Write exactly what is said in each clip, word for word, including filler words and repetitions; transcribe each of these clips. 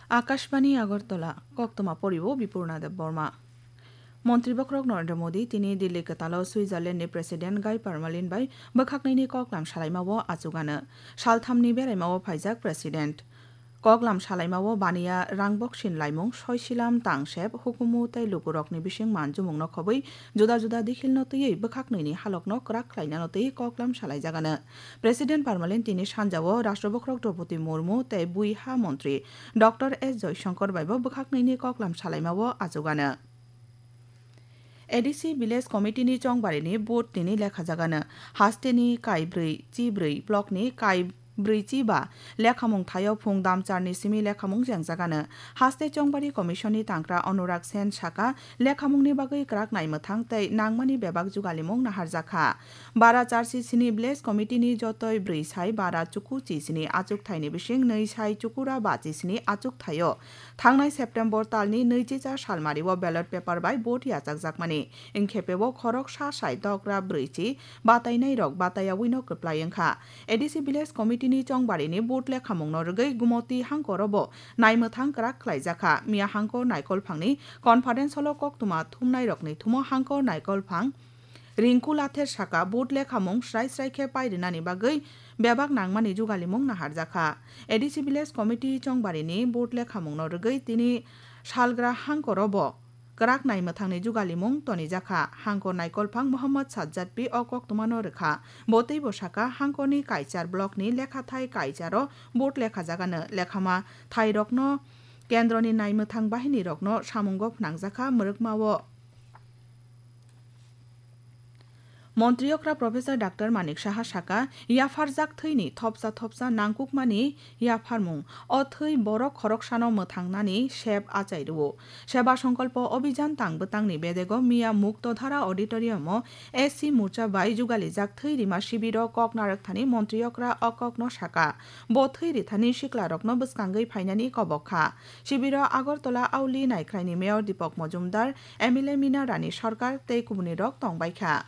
Akashbani Agartala, koktwma poriwo Bipurna Debbarma. Montri bokhorok Narendra Modi tini Delhi kwtalo Switzerland ni President Guy Parmelin bai bwkhaknwini koklam salaimao achugano. Salthamni beraimao phaijak President. Koklam salaimao baniya rangboksin laimung, soisilam, tangsep, hukumu tei lukurokni bising manjumungno khobwi juda juda dikhilno twiwi bwkhaknwini halokno kwrak khlainano twiwi koklam salaijagano. President Parmelin tini sanjao Rashtra bokhorok Droupadi Murmu tei bui ha montri Doctor S Jaishankar baibo bwkhaknwini koklam salaimao achugano. A D C Village Committee ni chongbarini vote tini lekhajagano. Hasteni kaibrwi chibrwi, block ni kaibrwi chiba lekhamung thaio phung damcharni simi lekhamung jengjagano. Haste chongbari commission ni tangkra Anurag Sen saka, lekhamungni bagwi kwrak naimwthang tei nangmani bebak jugalimung naharjakha. Bara charsi sini Village Committee ni jotoi brwi sai bara chuku chi sini achukthaini bising nwi sai chukura bachi sini achukthaio. Thangnai September talni nwichicha salmario ballot paper bai vote yachakjakmani, wngkhe pebo khorok sa sai dogra brwichi batainairok batayawino kwplai wngkha. A D C Village Committee ni chongbarini vote lekhamungno rwgwi Gumoti hangkorobo naimwthang kwrak khlaijakha. Miya hangkor naikolphangni conference hall-o koktwma thumnairokni thumo hangkor naikolphang Rinku Lather saka, vote lekhamung srai srai khe pairinani bagwi bebak nangmani jugalimung naharjakha. A D C Village Committee chongbarini vote lekhamungno rwgwi tini salgra hangkorobo kwrak naimwthangni jugalimung tonijakha. Hangkor naikolphang Mohammad Sajjad P o koktwmano rwkha. Bo teibo saka, hangkorni Kaichar blockni lekhathai Kaicharo vote lekhajagano, lekhama thairokno kendroni naimwthang bahinirokno samungo phnangjakha mwrwkmao. Montri okra Professor Doctor Manik Saha saka, yapharjak thwini thopsa thopsa nangkukmani yapharmung, o thwi borok khoroksano mwthangnani sep achai rwo. Seba Songkolpo Obhijan tang bwtangni bedego miya Muktodhara Auditorium-o S C Morcha bai jugalijak thwi rima shibiro kok narwkthani montri okra o kokno saka. Bo thwi rithani siklarokno bwskangwi phainani kobok kha. Shibiro Agartala Auli Naikhraini Mayor Deepak Majumdar, M L A Mina Rani Sarkar tei kubunirok tongbaikha.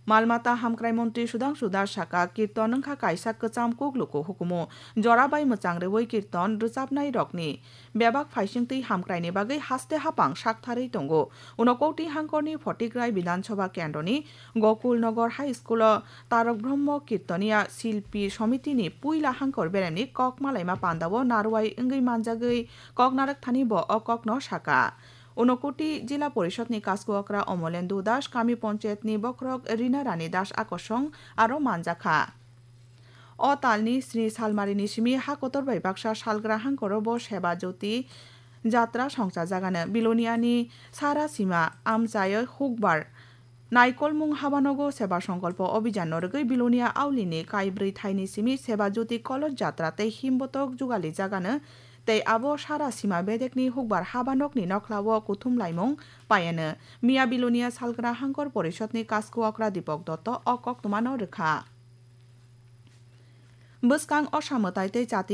Malmata hamkrai montri Sudhangshu Das saka, kirton wngkha kaisa kwcham kukluku hukumu. Jorabai mwchang rwui kirton rwchapnairokni bebak phaisingtwi hamkraini bagwi haste hapang saktharwi tongo. Unokoti hangkorni Photigrai Bidhan Sabha kendroni Gokul Nagar High School-o Tarok Brahma Kirtoniya Silpi Somitini puila hangkor beremni kok malaima pandao narwai wngwi manjagwi kok narwkthani bo o kokno saka. Unokoti Jila Porishadni Kasku Okra Omolendu Das, Kami Ponchayatni Bokhorok Rina Rani Das Akosong aro manjakha. O talni sni salmarini simi ha kotor bai baksa salgra hangkoro bo Seba Jyoti Jatra songchajagano. Biloniani Sara Sima amchaio hukbar naikolmung habanogo Seba Songkolpo Obhijan no rwgwi Bilonia Aulini kaibrwi thaini simi Seba Jyoti Koloj Jatra tei himbotok jugalijagano tei abo Sara Sima bedekni hukbar habanokni nokhlao kuthum laimung paiano. Miya Bilonia salgra hangkor Porishadni Kasku Okra Deepak Dotto o koktwmano rwkha. Bwskang osa mwtai tei jatini